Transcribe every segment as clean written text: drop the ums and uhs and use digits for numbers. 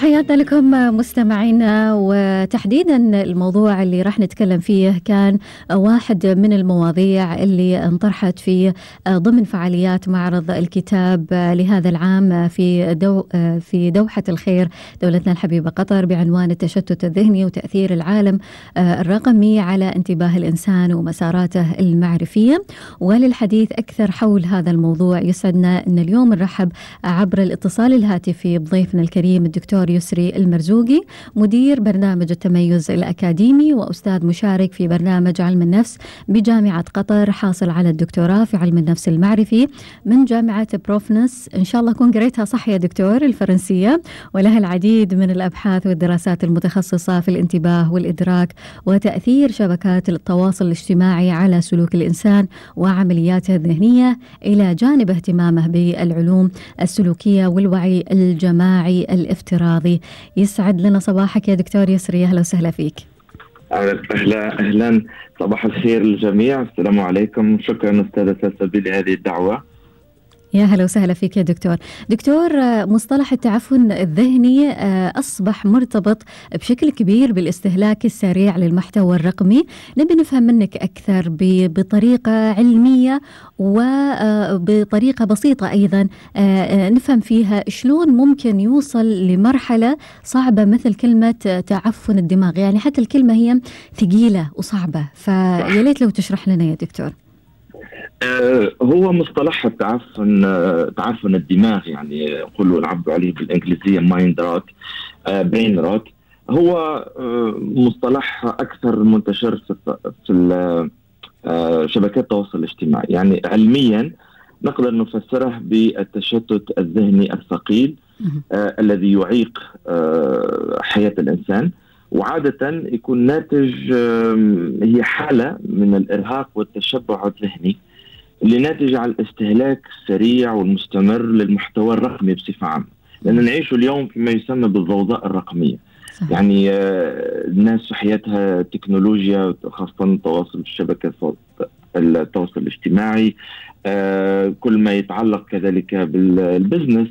تحياتنا لكم مستمعينا، وتحديدا الموضوع اللي راح نتكلم فيه كان واحد من المواضيع اللي انطرحت في ضمن فعاليات معرض الكتاب لهذا العام في دوحة الخير دولتنا الحبيبة قطر، بعنوان التشتت الذهني وتأثير العالم الرقمي على انتباه الإنسان ومساراته المعرفية. وللحديث أكثر حول هذا الموضوع يسعدنا أن اليوم نرحب عبر الاتصال الهاتفي بضيفنا الكريم الدكتور يسري المرزوقي، مدير برنامج التميز الأكاديمي وأستاذ مشارك في برنامج علم النفس بجامعة قطر، حاصل على الدكتوراه في علم النفس المعرفي من جامعة بروفنس، إن شاء الله أكون قريتها صح يا دكتور، الفرنسية، ولها العديد من الأبحاث والدراسات المتخصصة في الانتباه والإدراك وتأثير شبكات التواصل الاجتماعي على سلوك الإنسان وعملياته الذهنية، إلى جانب اهتمامه بالعلوم السلوكية والوعي الجماعي الافتراضي. يسعد لنا صباحك يا دكتور يسري، أهلا وسهلا فيك. أهلا، صباح الخير للجميع، السلام عليكم، شكرا أستاذة سلسبيل لهذه الدعوة. يا هلا وسهلا فيك يا دكتور. مصطلح التعفن الذهني أصبح مرتبط بشكل كبير بالاستهلاك السريع للمحتوى الرقمي. نبي نفهم منك أكثر بطريقة علمية وبطريقة بسيطة أيضا نفهم فيها شلون ممكن يوصل لمرحلة صعبة مثل كلمة تعفن الدماغ، يعني حتى الكلمة هي ثقيلة وصعبة، فياليت لو تشرح لنا يا دكتور. هو مصطلح تعفن الدماغ، يعني يقولوا العبد عليه بالإنجليزية mind rot، brain rot. هو مصطلح أكثر منتشر في شبكات التواصل الاجتماعي. يعني علميا نقدر نفسره بالتشتت الذهني الثقيل الذي يعيق حياة الإنسان، وعادة يكون ناتج هي حالة من الإرهاق والتشبع الذهني اللي ناتج عن الاستهلاك السريع والمستمر للمحتوى الرقمي بصفة عامة، لأن نعيش اليوم فيما يسمى بالضوضاء الرقمية. صحيح. يعني الناس في حياتها تكنولوجيا، خاصة تواصل الشبكة التواصل الاجتماعي، كل ما يتعلق كذلك بالبزنس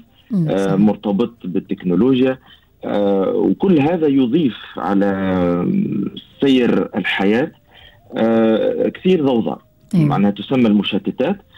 مرتبط بالتكنولوجيا، وكل هذا يضيف على سير الحياة كثير ضوضاء، معناها تسمى المشتتات.